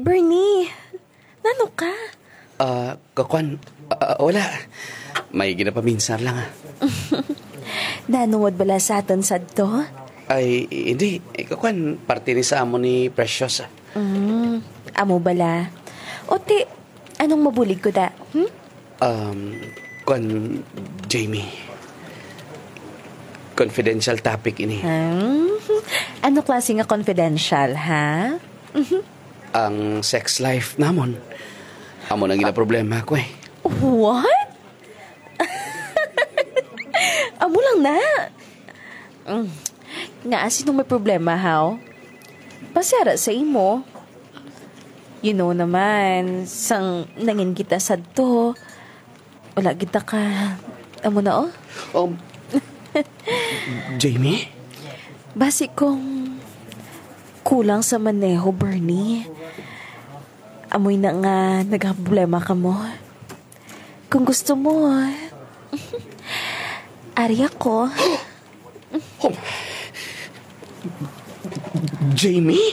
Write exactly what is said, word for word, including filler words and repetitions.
Bernie, nano ka? Ah, kakwan, ah, wala. May ginapaminsar lang, ah. Nanungod bala sa aton sadto? Ay, hindi. Eh, kakwan, parte ni sa amo ni Precious, ah. Mm, amo bala. O ti, anong mabulig ko da? Hmm? Um, kwan, Jamie. Confidential topic ini. Hmm? Ano klase nga confidential, ha? Ang sex life namon. Amo nang ginaproblema ko eh. What? Amo lang na. Mm. Nga, sino may problema, haw? Pasara sa imo. You know naman, sang nangin kita sadto, wala kita ka, amo na, oh. Um, Jamie? Basi kung kulang sa maneho, Bernie. Amoy na nga nagkaproblema ka mo. Kung gusto mo, ari ako. Jamie?